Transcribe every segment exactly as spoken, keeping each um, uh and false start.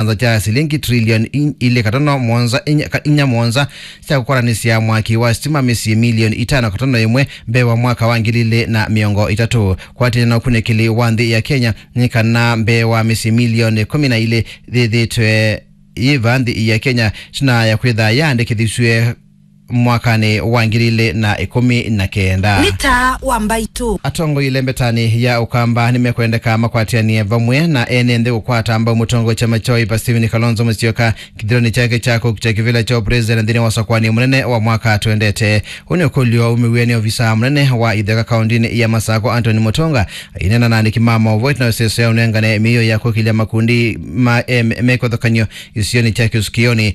kyanza kya silingi trilioni ilĩ katono mũonza inya, ka-, inya mũonza sya kũkwatanĩsya mwaki wa sitima mĩsyĩ milioni itano katono ĩmwe mbee wa mwaka wa ngili ilĩ na mĩongo ĩtatũ. Kwatĩanĩa na ũkunĩkĩli wa nthĩ ya Kenya, nĩ kana mbee wa mĩsyĩ milioni ĩkũmi na ilĩ yĩthĩĩtwe yĩ va nthĩ ya Kenya, ĩtina ya kwĩtha yaandĩkĩthisw'e mwakanĩ wa ngili ilĩ na ĩkũmi na kenda. Nĩ taa wa Mbaitũ. Atongoi lembetanĩ ya Ũkamba nĩmekwendeka makwatĩanĩe vamwe na ene nthĩ kũkwata mbau mũtongoi wa kyama kya Wiper Stephen Kalonzo Musyoka kĩthĩonĩ kyake kya kũkita kĩvĩla kya ũpresident nthĩnĩ wa ũsakũani mũnene wa mwaka twendete. Ũũ nĩ ũkũlyo umĩw'e nĩ ovisa mũnene wa itheka kaũndĩnĩ ya Masakũ Anthony Mũtũnga aineena na andĩki ma maũvoo ĩtina wa ĩseso ya ũnengane mĩio ya kũkĩlya makundi ma, eh, me-, mekũthakanyo isionĩ kya kĩsukĩonĩ.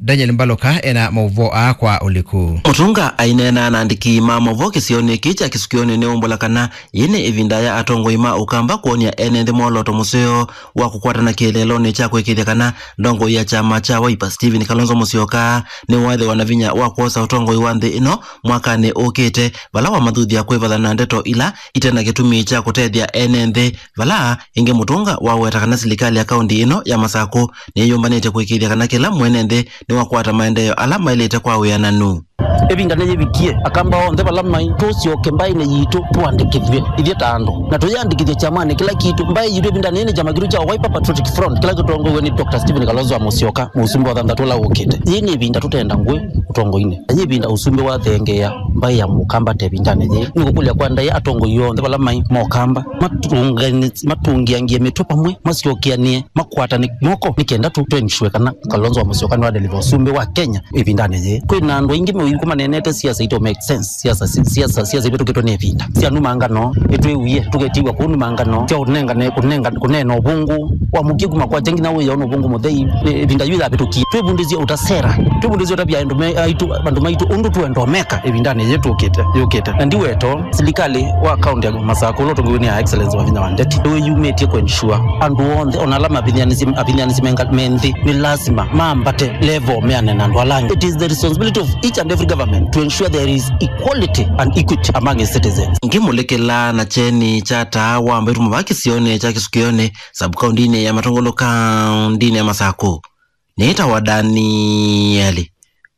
Daniel Mbaluka ena maũvoo aa kwa ũliku. Mũtũnga aineena na andĩki ma maũvoo kĩsionĩ kĩĩ kya kĩsukĩonĩ nĩ ũmbũla kana yĩĩ nĩ ĩvinda ya atongoi ma Ũkamba kwony'a ene nthĩ mwolooto mũseo wa kũkwatana kĩeleelonĩ kya kũĩkĩĩthya kana ndongoi ya kyama kya Wiper Stephen Kalonzo Musyoka nĩwaĩthĩwa na vinya wa kwosa ũtongoi wa nthĩ ĩno mwakanĩ ũkĩte, vala wamathuthya kwĩvathana na ndeto ila ite na kĩtumi kya kũtethya ene nthĩ, vala ĩngĩ Mũtũnga waweta kana silikalĩ ya kaũndĩ ĩno ya Masakũ nĩyũmbanĩte kũĩkĩĩthya kana kĩla mwene nthĩ nĩwakwata maendeeo ala maĩlĩte kwa wĩananu. Ĩvinda nĩyĩvikie, Akamba onthe vala maĩ, tũsyoke mbaĩnĩ yitũ tũandĩkĩthw'e ithyĩ ta andũ, na tũyĩandĩkĩthye kyamanĩ kĩla kitũ. Mbaĩ yitũ ĩvindanĩ yĩĩ nĩ kyama kitũ kya Wiper Patriotic Front kĩla kĩtongoew'e nĩ Doctor Stephen Kalonzo wa Musyoka, mũsumbĩ wa thanthatũ ũla ũkĩte. Yĩĩ nĩ ĩvinda tũtenda ngũĩ ũtongoinĩ, na yĩ ĩvinda ũsumbĩ wathengeea mbaĩ ya Mũkamba ta ĩvindanĩ yĩĩ. Nĩngũkũlya kwa ndaĩa atongoi onthe vala maĩ ma Ũkamba matũngani-, matũngĩangie mĩtwe vamwe, masyokeanĩe, makwatane moko nĩ kenda tũ, tũ ensure kana Kalonzo wa Musyoka nĩwadeliver ũsumbĩ wa Kenya ĩvindanĩ yĩĩ. Kwĩ na andũ aingĩ meũiku maneenete siasa ito make sense, siasa, si-, siasa, siasa ivĩtũkĩtwe nĩ ĩvinda. Sya numa ngano, nĩtwĩwie, tũketiwa kũu numa ngano, sya ũnengane, kũnenga, kũneena ũvũngũ, wamũkie kuma kwakya nginya wĩona ũvũngũ mũthei, ĩ-, ĩvinda yu yavĩtũkie. Twĩvundĩsye ũta sera, twĩvundĩsye ũtavya andũ me-, aitũ, andũ maitũ ũndũ tũenda ũmeka ĩvindanĩ yĩĩ tũkĩte, yũkĩte. Na ndiwetoo, silikalĩ wa kaũndĩ ya Masakũ ũla ũtongoew'e nĩ Her Excellency Wavinya wa Ndeti nĩwĩyumĩtye kũ ensure andũ onthe, ona ala mavithanĩsye, avithanĩsye menga-, me nthĩ, nĩ lasima mambate level meane na andũ ala angĩ. It is the responsibility of each and every government to ensure there is equality and equity among its citizens. Ngĩmũlĩkĩla na kyeni kya taa wa Mbaitũ mũvaka kĩsionĩ kya Kĩsukĩonĩ, sub-kaũndĩnĩ ya Matũngũlũ, kaũndĩnĩ ya Masakũ. Nĩtawa Danieli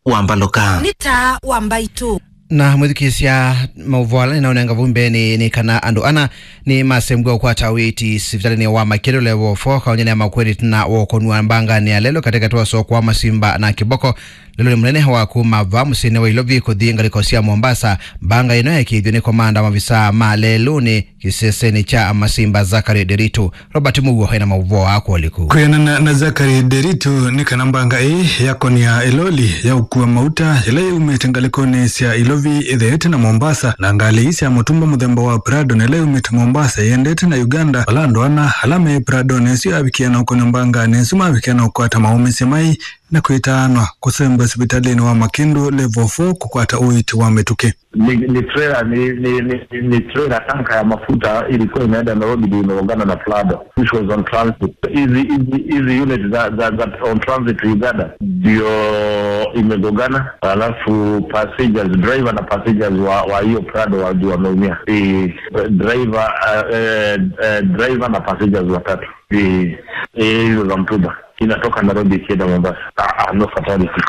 wa Mbaluka. Nĩ taa wa Mbaitũ. Na mwĩthukĩĩsya, maũvoo ala nĩnaũnenga vau mbeenĩ nĩ kana andũ ana nĩmasembwa kũkwata ũiiti sivitalĩnĩ wa Makĩndũ level four kaũnyanĩ ya Makueni ĩtina wa ũkũnwa mbanganĩ ya lelũ katĩkatĩ wa soko wa Masimba na Kĩboko lelũnĩ mũnene wa kuma va mũsyĩnĩ wa Ilovi kũthi ngalĩko sya Mombasa. Mbanga ĩno yaĩkĩĩthw'e nĩ komanda wa mavisaa ma lelũnĩ kĩsesenĩ kya Masimba, Zachary Nderitu. Robert Mũuo ena maũvoo aa kwa ũliku. Kwĩanana na Zachary Nderitu, nĩ kana mbanga ĩĩ yakonia ĩloli ya ũkua mauta ĩla yaumĩte ngalĩkonĩ sya Ilovi ĩtheete na Mombasa, na ngalĩ ii sya mũtumba mũthemba wa Prado na ĩla yaumĩte Mombasa ĩendete na Uganda, vala andũ ana ala me Pradonĩ ĩsu yavikie na ũkonia mbanganĩ ĩsu mavikie na ũkwata maũmĩsye mai na kwĩtaanwa kũsembwa sivitalĩnĩ wa Makĩndũ level four kũkwata ũiiti wa mĩtũkĩ. Ni, ni trailer, ni, ni, ni, ni trailer tanka ya mafuta ilikuwa inaenda Nairobi, ndio imegongana na Prado, which was on transit. Hizi, hizi, hizi unit za, za, za on transit to Uganda ndio imegongana, alafu passengers, driver na passengers wa, wa hiyo Prado wa, ndio wameumia. Eh, driver, eh, eh, eh, driver na passengers watatu. Eh, eh, hizo za mtumba. Inatoka Nairobi ikienda Mombasa. Ah, ah, no fatality.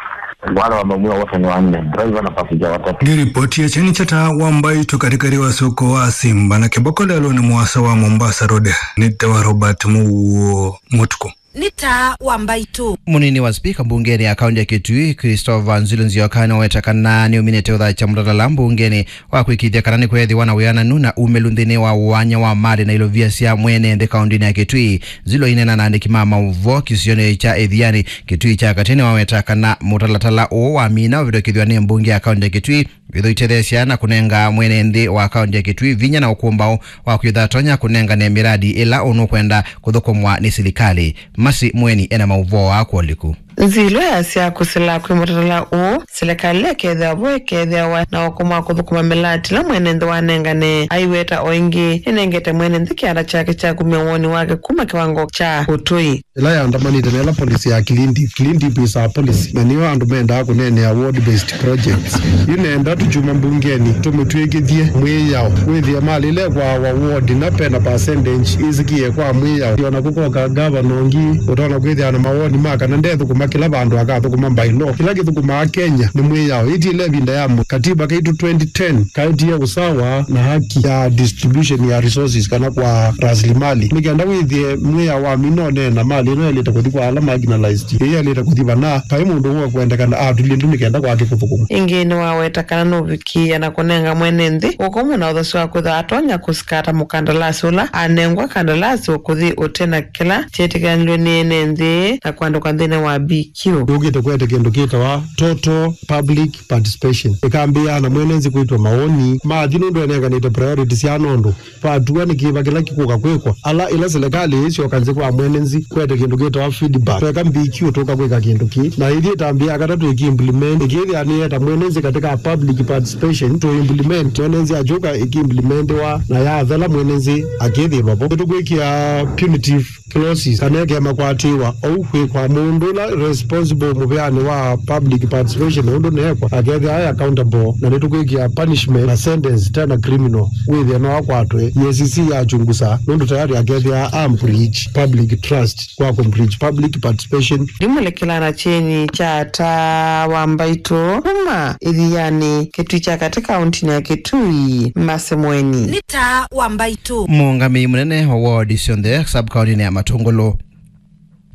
Wale wameumia wote ni wanne, driver na passenger watatu. Ngĩripotia kyeni kya taa wa Mbaitũ katĩkatĩ wa soko wa Simba na Kĩboko lelũnĩ mũasa wa Mombasa Road, nĩtawa Robert Mũuo Mũtukũ. Nĩ taa wa Mbaitũ. Mũnini wa spika mbungenĩ ya kaũntĩ ya Kitui, Christopher Nzilo Nzioka, nĩwaweta kana nĩũminĩte ũthakya mũtalatala mbungenĩ wa kwĩkĩĩthya kana nĩkweethĩwa na wĩananu na umĩlu nthĩnĩ wa ũany'a wa malĩ na ilovia sya mwene nthĩ kaũntĩnĩ ya Kitui. Nzilo aineena na andĩki ma maũvoo kĩsionĩ kya Ĩthianĩ, Kitui kya Katĩ, nĩwaweta kana mũtalatala ũũ wamina ũvĩtũkĩthw'a nĩ mbunge ya kaũntĩ ya Kitui, wĩthũitetheesya na kũnenga mwene nthĩ wa kaũntĩ ya Kitui vinya na ũkũmbaũ wa kwĩtha atonya kũnengane mĩradi ĩla ũnũkwenda kũthũkũmwa nĩ silikalĩ. Masi Mweni ena maũvoo aa kwa ũliku. Nzilo yasya kũsila kwĩ mũtalatala ũũ, silikalĩ ĩkethĩwa vo ĩkethĩawa na ũkũmũ wa kũthũkũma mĩlaati ĩla mwene nthĩ wanengane. Aiweta o ĩngĩ, nĩnengete mwene nthĩ kĩanda kyake kya kumya woni wake kuma kĩwango kya ũtũi. Ĩla yaandamanĩte na ĩla policy ya clean dip. Clean dip is our policy, na nĩyo andũ mendaa kũneenea ward based projects. Yu nenda tũkyuma mbungenĩ, tũmĩtw'ĩkĩthye mwĩao. Wĩthĩe malĩle kwa our ward, na pena percentage ĩsĩkĩe kwa mwĩao. Ona kũkoka ngavana ũngĩ, ũtonya kwĩthĩa na mawoni ma kana ndethũkũma kĩla vandũ akathũkũma by law. Kĩla kĩthũkũmaa Kenya nĩ mwĩao. Ĩtiĩle ĩvinda ya mũ-, katiba kaitũ twenty ten kaetie usawa na haki ya distribution ya resources kana kwa rasilimali. Nĩ kenda wĩthĩe mwĩao wa mina ũneena mali ĩno yaĩlĩte kũthi kwa ala marginalized. Ĩĩ yaĩlĩte kũthi vana, vai mũndũ ũũ kwendekana atulye ndu nĩ kenda kwake kũthũkũma. Ĩngĩ nĩwaweta kana nũvikĩĩa na kũnenga mwene nthĩ ũkũmũ na ũthasyo wa kwĩthwa atonya kũsikata mũkandalasi ũla anengwa kandalasi ũkũthi ũte na kĩla kyetĩkĩlanilwe nĩ ene nthĩ na kwandĩkwa nthĩnĩ wa B Q. Yũkĩte kwete kĩndũ kĩtawa total public participation. Ĩkambĩĩa na mwene nthĩ kwĩtwa mawoni mathi nũndũ enenganĩte priority sya nũndũ vatua nĩ kĩva kĩla kĩkũka kwĩkwa. Ala ĩla silikalĩ ĩisyoka nthĩ kwa mwene nthĩ kwete kĩndũ kĩtawa feedback. Tweka B Q tũka kwĩka kĩndũ kĩ. Na ĩthi ĩtambĩĩa katatũ ĩki implement. Ĩkĩthĩa nĩyeta mwene nthĩ katika public participation to implement. Mwene nthĩ akyũka ĩki implementiwa na yathela mwene nthĩ akĩthĩlwa vo. Nĩtũkwĩkĩa punitive clauses kana ĩkemakwatĩwa ou kwĩ kwa mũndũ ũla responsible mũvĩanĩ wa public participation ũndũ neekwa akethĩa aĩ accountable, na nĩtũkwĩkĩa punishment na sentence tena criminal wĩthĩa no akwatwe. E A C C yachungusa nũndũ tayari akethĩa a breach public trust kwa ku breach public participation. Ndimũlekela na kyeni kya taa wa mbaitũ kuma ĩthianĩ kĩtui kya katĩ kauntinĩ ya Kitui Masemweni. Nĩ taa wa mbaitũ. Mũũngamĩi mũnene wa wodi syonthe sub-kaũntĩnĩ ya Matũngũlũ,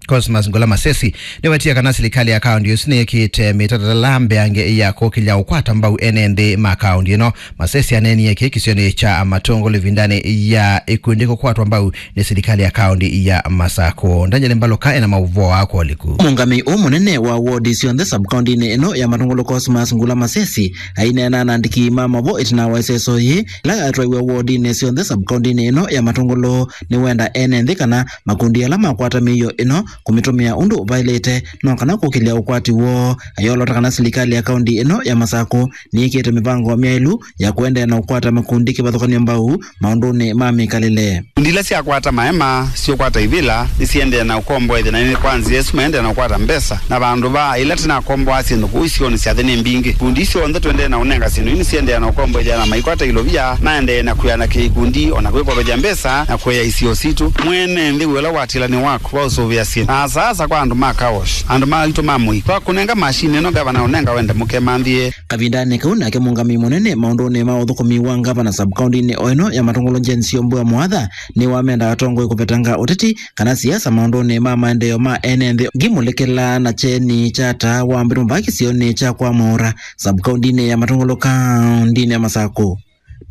Cosmas Ngula Masesi, nĩwetie kana silikalĩ ya kaũntĩ ĩsu nĩyĩkĩte mĩtatatala mbeange ya kũkĩlya ũkwata mbau ene nthĩ ma kaũntĩ ĩno. Masesi aneenie kĩĩ kĩsionĩ kya Matũngũlũ ĩvindanĩ ya ikundi kũkwatwa mbau nĩ silikalĩ ya kaũntĩ ya Masakũ. Daniel Mbaluka ena maũvoo aa kwa ũliku. Mũũngamĩi ũũ mũnene wa wodi syonthe sub-kaũntĩnĩ ĩno ya Matũngũlũ, Cosmas Ngula Masesi, aineena na andĩki ma maũvoo ĩtina wa ĩseso yĩĩ ĩla yatwaiwe wodinĩ syonthe sub-kaũntĩnĩ ĩno ya Matũngũlũ, nĩwenda ene nthĩ kana makundi ala makwata mĩio ĩno kũmĩtũmĩa ũndũ vaĩlĩte, no kana kũkĩlya ũkwati woo. Ayolota kana silikalĩ ya kaũntĩ ĩno ya Masakũ nĩĩkĩte mĩvango myaĩlu ya kũendeea na ũkwata makundi kĩvathũkany'o mbau maũndũnĩ ma mĩkalĩle. Ikundi ila syakwata maema, syũkwata ivĩla, nĩsiendee na ũkomboethya, na nĩ kwa nzĩa ĩsu maendee na ũkwata mbesa. Na vandũ va ĩla tũnakomboaa syĩndũ kũu isionĩ sya nthĩ nĩ mbingĩ. Ikundi isu syonthe tũendee na ũnenga syĩndũ ii nĩsiendee na ũkomboethya na maikwata ilovia, maendee na kwĩanakĩa ikundi, o na kwĩkomboethya mbesa, na kũea isio sitũ. Mwene nthĩ wĩ ũla watĩlanĩ waku wa ũsũvĩa syĩndũ. Na asaasa kwa andũ ma car wash, andũ maitũ ma mũi. Twakũnenga mashini ĩno, ngavana ũnenga wende mũkemanthĩe. Kavindanĩ kau nake mũũngamĩi mũnene maũndũnĩ ma ũthũkũmi wa ngavana sub-kaũntĩnĩ o ĩno ya Matũngũlũ, Jane Syombua Mwatha, nĩwamenda atongoi kũvetanga ũteti kana siasa maũndũnĩ ma maendeeo ma ene nthĩ. Ngimũlekela na kyeni kya taa wa mbaitũ kĩsionĩ kya kwa Maũra, sub-kaũntĩnĩ ya Matũngũlũ, kaũntĩnĩ ya Masakũ.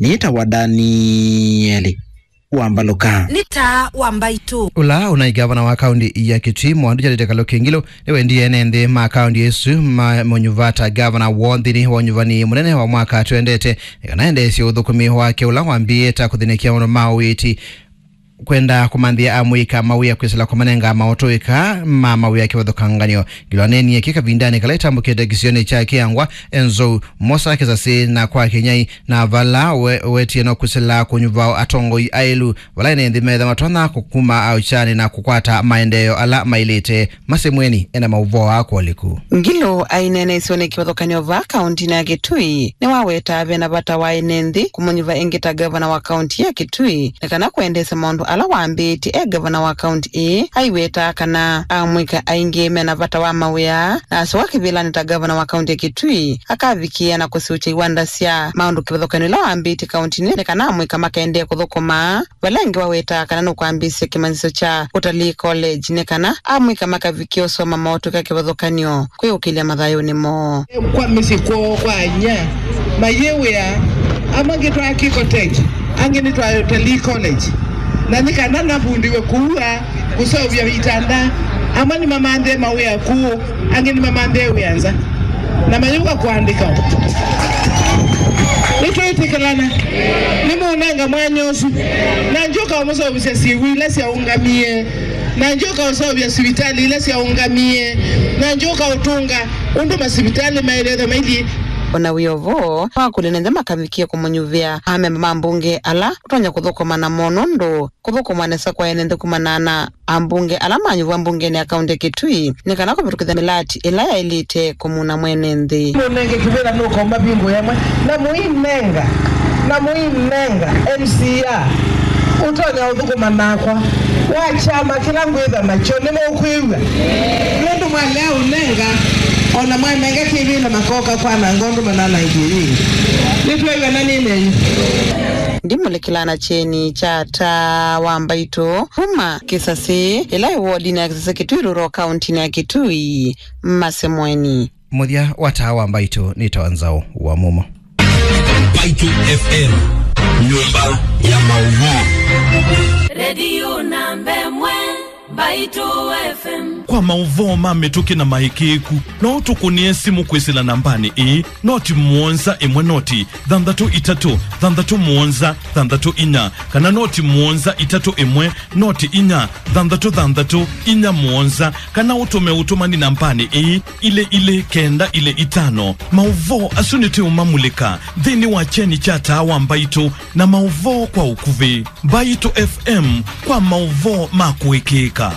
Nĩtawa Danieli wa Mbaluka. Nĩ taa wa mbaitũ. Ũla ũnaĩ ngavana wa kaũntĩ ya Kitui, Mwandũ Charity Kaluki Ngilu, nĩwendie ene nthĩ ma kaũntĩ ĩsu mamũnyuva ta ngavana woo nthĩnĩ wa ũnyuvani mũnene wa mwaka twendete, nĩ kana endeesye ũthũkũmi wake ũla wambĩĩe ta kũthĩnĩkĩa maũndũ ma ũiiti, kwenda kũmanthĩa amũika mawĩa kwĩsĩla kũmanenga maũtũĩka ma mawĩa kĩvathũkangany'o. Ngilu aneenie kĩ kavindanĩ kala ĩtambũkĩte kĩsionĩ kya Kĩangwa, Enzou, Mosa Kĩsasĩ na kwa Kĩnyai, na vala we-, wetie no kwĩsĩla kũnyuva atongoi aĩlu vala ene nthĩ metha matonya kũkuma aũkyanĩ na kũkwata maendeeo ala maĩlĩte. Masemweni ena maũvoo aa kwa ũliku. Ngilu aineena isionĩ kĩvathũkany'o vaa kaũntĩnĩ ya Kitui, nĩwaweta ve na vata wa ene nthĩ kũmũnyuva ĩngĩ ta ngavana wa kaũntĩ ya Kitui, nĩ kana kwendeesya maũndũ ala wambĩĩtye e ngavana wa kaũntĩ ĩĩ. Aiweta kana amũika aingĩ mena vata wa mawĩa, na asyoka kĩvĩlanĩ ta ngavana wa kaũntĩ ya Kitui, akavikĩĩa na kũsiũkya iwanda sya maũndũ kĩvathũkany'o ila wambĩĩtye kaũntĩnĩ, nĩ kana amũika makaendee kũthũkũma. Vala ĩngĩ waweta kana nũkwambĩĩsya kĩmanyĩsyo kya Utalii College nĩ kana amũika makavikĩa ũsoma maũtũĩka kĩvathũkany'o kwĩũkĩlya mathayũnĩ moo. Kwa mĩsyĩ kwoo kwa inyia mayĩwĩa, amwe angĩ twa Kiko Tech, angĩ nĩ twa Utalii College, na nĩ kana navundiwe kũua kũseũvya itanda. Amwe nĩmamanthĩe mawĩa kũũ, angĩ nĩmamanthĩe wĩa nza, na mayũka kũandĩka. Nĩtwĩtĩkĩlana, nĩmũnenga mwanya ũsu, na njũka ũmũseũvĩsya syĩw'ũ ila syaũngamie. Na ngyũka ũseũvya sivitalĩ ila syaũngamie, na ngyũka ũtũnga ũndũ masivitalĩ maĩlĩte maithi. O na wĩ o vo, nĩwakũlilye nthĩ makavikie kũmũnyuvĩa amemba ma mbunge ala ũtonya kũthũkũma namo, nũndũ kũthũkũma nesa kwa ene nthĩ kumana na ambunge ala manyuvwa mbungenĩ ya kaũntĩ ya Kitui nĩ kana kũvĩtũkĩthya mĩlati ĩla yaĩlĩte kũmuna mwene nthĩ. Mũnenge kĩvĩla nũkomba vingũ yamwe, na mũinenga, na mũinenga M C A ũtonya ũthũkũma nakwa wa kyama kĩla ngwĩtha nakyo. Nĩmũkwĩw'a? Nũndũ mwalea ũnenga, o na mwanenga kĩvĩla makoka kwananga ũndũ mananangie yĩngĩ. Nĩtwĩw'a na nĩnenyu. Ndimũlĩkĩla na kyeni kya Taa wa Mbaitũ kuma Kĩsasĩ, ĩla ĩ wodinĩ ya Kĩsasĩ Kitui Rural, kaũntĩnĩ ya Kitui, Masemweni. Mũthya wa Taa wa Mbaitũ nĩ Tawa Nzaũ wa Mumo. Mbaitũ F M, nyũmba ya maũvoo. Redio namba ĩmwe, Mbaitũ F M. Kwa maũvoo ma mĩtũkĩ na maĩkĩĩku, no ũtũkũnĩe simũ kwĩsĩla nambanĩ ĩĩ, noti mũonza ĩmwe noti thanthatũ itatũ thanthatũ mũonza thanthatũ inya, kana noti mũonza itatũ ĩmwe noti inya thanthatũ thanthatũ inya mũonza, kana ũtũme ũtũmani nambanĩ ĩĩ, ilĩ ilĩ kenda ilĩ itano. Maũvoo asu nĩtũũmamulĩka nthĩnĩ wa kyeni kya Taa wa Mbaitũ na maũvoo kwa ũkuvĩ. Mbaitũ F M, kwa maũvoo ma kũĩkĩĩka.